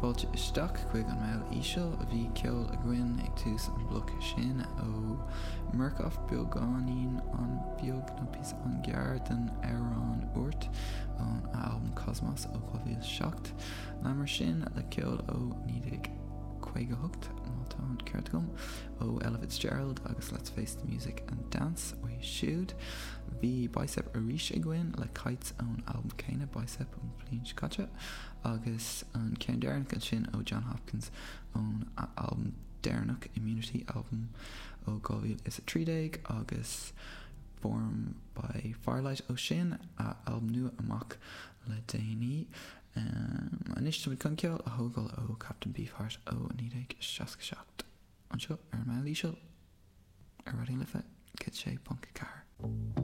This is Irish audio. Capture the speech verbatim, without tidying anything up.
Fáilte isteach chuig an Meall Íseal bhí ceol againn ag tús an bloc sin ó Murcof beagáinín an-bheag nó píosa an-ghearr den amhrán Oort ón albam Cosmos ó dhá mhíle seacht. Leanamar sin le ceol ó naoi déag caoga hocht má tá an ceart agam ó Ella Fitzgerald agus Let's Face the Music and Dance uaidh siúd. Bhí Bicep arís againn le Kites ón albam céanna Bicep ón bhliain seo caite agus an ceann deireanach ansin ó Jon Hopkins ón albam deireanach Immunity album ó dhá mhíle is a trí déag agus Form by Firelight ó sin a albam nua amach le déanaí. Um, anois táimid chun ceol a thógáil ó Captain Beefheart ó naoi déag seasca seacht. Anseo ar an Meall Íseal ar Raidió Life céad sé ponc ceathair.